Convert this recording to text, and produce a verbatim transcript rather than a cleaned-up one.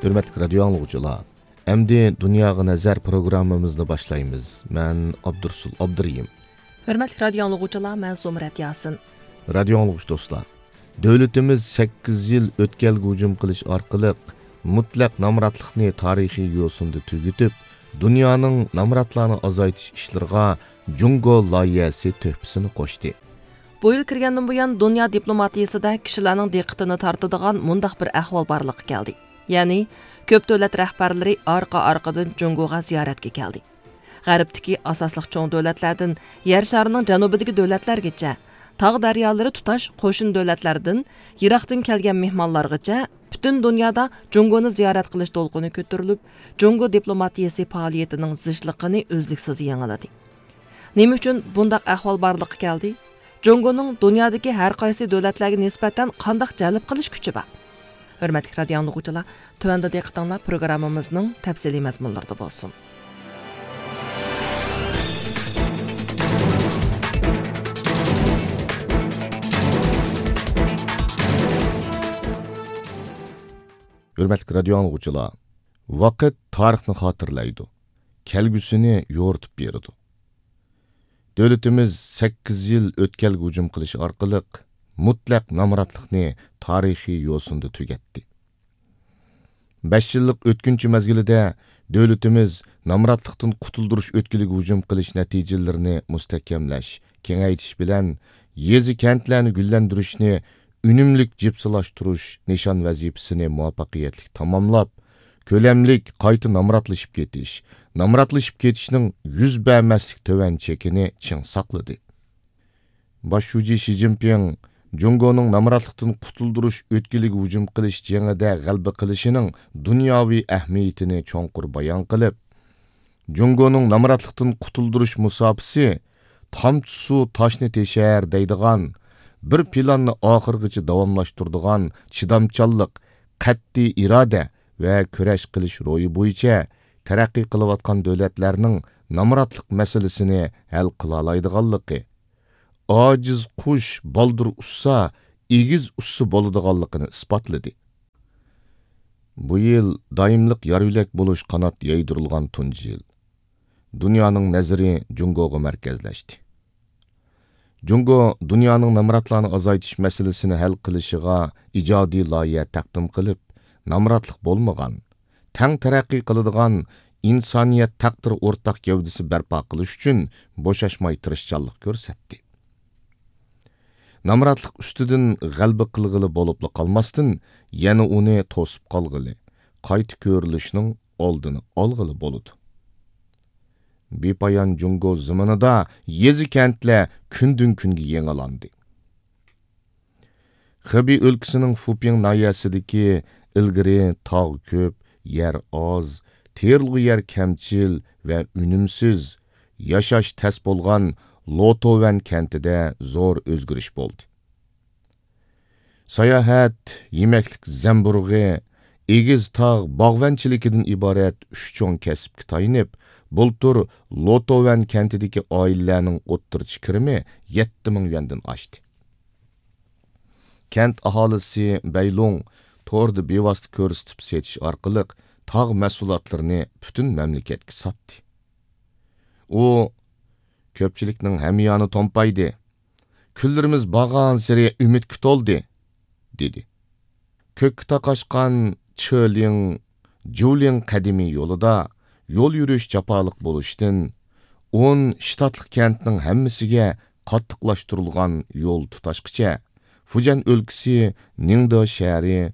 ھۆرمەتلىك رادىيو ئاڭلىغۇچىلار، ئەمدى دۇنياغا نەزەر پروگراممىمىزنى باشلايمىز. مەن ئابدۇرسۇل ئابدۇرېھىم. ھۆرمەتلىك رادىيو ئاڭلىغۇچىلار، مەن زۇمرەت ياسىن. رادىيو ئاڭلىغۇچى دوستلار، دۆلىتىمىز سەككىز يىل ئۆتكەلگە ھۇجۇم قىلىش ئارقىلىق مۇتلەق نامراتلىقنى تارىخىي يوسۇندا تۈگىتىپ، دۇنيانىڭ نامراتلارنى ئازايتىش ئىشلىرىغا جۇڭگو لايىھەسى تۆھپىسىنى قوشتى. بۇ يىل كىرگەندىن بۇيان، دۇنيا دىپلوماتىيىسىدە كىشىلەرنىڭ دىققىتىنى تارتىدىغان مۇنداق بىر ئەھۋال بارلىققا كەلدى. يەنى، كۆپ دۆلەت رەھبەرلىرى ئارقا-ئارقىدىن جۇڭگوغا زىيارەتكە كەلدى. غەربتىكى ئاساسلىق چوڭ دۆلەتلەردىن يەر شارىنىڭ جەنۇبىدىكى دۆلەتلەرگىچە، تاغ دەريالىرى تۇتاش قوشنا دۆلەتلەردىن يىراقتىن كەلگەن مېھمانلارغىچە، پۈتۈن دۇنيادا جۇڭگونى زىيارەت قىلىش دولقۇنى كۆتۈرۈلۈپ، جۇڭگو دىپلوماتىيىسى پائالىيىتىنىڭ زىچلىقىنى ئۈزلۈكسىز يېڭىلىدى. نېمە ئۈچۈن بۇنداق ئەھۋال بارلىققا كەلدى؟ جۇڭگونىڭ دۇنيادىكى ھەر قايسى دۆلەتلەرگە نىسبەتەن قانداق جەلپ قىلىش كۈچى بار؟ ھۆرمەتلىك رادىيو ئاڭلىغۇچىلار، تۆۋەندە دىققىتىڭلار پروگراممىمىزنىڭ تەپسىلىي مەزمۇنلىرىدا بولسۇن. ھۆرمەتلىك رادىيو ئاڭلىغۇچىلار، ۋاقىت تارىخنى خاتىرىلەيدۇ، كەلگۈسىنى يورۇتۇپ بېرىدۇ. دۆلىتىمىز سەككىز يىل ئۆتكەلگە ھۇجۇم قىلىش ئارقىلىق مۇتلەق نامراتلىقنى تارىخىي يوسۇندا تۈگەتتى. بەش يىللىق ئۆتكۈنچى مەزگىلىدە دۆلىتىمىز نامراتلىقتىن قۇتۇلدۇرۇش ئۆتكىلىگە ھۇجۇم قىلىش نەتىجىلىرىنى مۇستەھكەملەش، كېڭەيتىش بىلەن يېزا، كەنتلەرنى گۈللەندۈرۈشنى ئۈنۈملۈك جىپسىلاشتۇرۇش نىشان ۋەزىپىسىنى مۇۋەپپەقىيەتلىك تاماملاپ، كۆلەملىك قايتا نامراتلىشىپ كېتىش، نامراتلىشىپ كېتىشنىڭ يۈز بەرمەسلىك تۆۋەن چېكىنى چىڭ ساقلىدى. باش شۇجى شى جىنپىڭ جۇڭگونىڭ نامراتلىقتىن قۇتۇلدۇرۇش ئۆتكىلىگە ھۇجۇم قىلىش جېڭىدە غەلىبە قىلىشىنىڭ دۇنياۋى ئەھمىيىتىنى چوڭقۇر بايان قىلىپ، جۇڭگونىڭ نامراتلىقتىن قۇتۇلدۇرۇش مۇساپىسى تامچە سۇ تاشنى تېشەر دەيدىغان، بىر پىلاننى ئاخىرغىچە داۋاملاشتۇرىدىغان چىدامچانلىق، قەتئىي ئىرادە ۋە كۈرەش قىلىش روھى بويىچە تەرەققىي قىلىۋاتقان دۆلەتلەرنىڭ نامراتلىق مەسىلىسىنى ھەل قىلالايدىغانلىقى، ئاجىز قۇش بالدۇر ئۇچسا، ئېگىز ئۇچسا بولىدىغانلىقىنى ئىسپاتلىدى. بۇ يىل دائىملىق يار-يۆلەك بولۇش قانات يايدۇرۇلغان تۇنجى يىل. دۇنيانىڭ نەزىرى جۇڭگوغا مەركەزلەشتى. جۇڭگو دۇنيانىڭ نامراتلارنى ئازايتىش مەسىلىسىنى ھەل قىلىشىغا ئىجادىي لايىھە تەقدىم قىلىپ، نامراتلىق بولمىغان، تەڭ تەرەققىي قىلىدىغان ئىنسانىيەت تەقدىرى ئورتاق گەۋدىسى بەرپا قىلىش ئۈچۈن بوشاشماي تىرىشچانلىق كۆرسەتتى. نامراتلىق ئۈستىدىن غەلىبە قىلغىلى بولۇپلا قالماستىن، يەنە ئۇنى توسۇپ قالغىلى، قايتا كۆرۈلۈشنىڭ ئالدىنى ئالغىلى بولىدۇ. بىپايان جۇڭگو زېمىنىدا يېزا-كەنتلەر كۈندىن-كۈنگە يېڭىلاندى. خېبېي ئۆلكىسىنىڭ فۇپىڭ ناھىيەسىدىكى ئىلگىرى تاغ كۆپ، يەر ئاز، تېرىلغۇ يەر كەمچىل ۋە ئۈنۈمسىز، ياشاش تەس بولغان لوتوۋەن كەنتىدە زور ئۆزگىرىش بولدى. ساياھەت، يېمەكلىك زەمبۇرۇغى، ئېگىز تاغ باغۋەنچىلىكىدىن ئىبارەت ئۈچ چوڭ كەسىپكە تايىنىپ، بۇلتۇر لوتوۋەن كەنتىدىكى ئائىلىلەرنىڭ ئوتتۇرىچە كىرىمى يەتتە مىڭ يۈەندىن ئاشتى. كەنت ئاھالىسى بەيلۇڭ توردا بىۋاسىتە كۆرسىتىپ سېتىش ئارقىلىق تاغ مەھسۇلاتلىرىنى پۈتۈن مەملىكەتكە ساتتى. ئۇ كۆپچىلىكنىڭ ھەميانى تومپايدى. كۈنلىرىمىز بارغانسېرى ئۈمىدكە تولدى، دېدى. كۆككە تاقاشقان چېلىڭ، جۇلىڭ قەدىمىي يولىدا يول يۈرۈش جاپالىق بولۇشتىن، ئون شتاتلىق كەنتنىڭ ھەممىسىگە قاتتىقلاشتۇرۇلغان يول تۇتاشقىچە، فۇجيەن ئۆلكىسى نىڭدې شەھىرى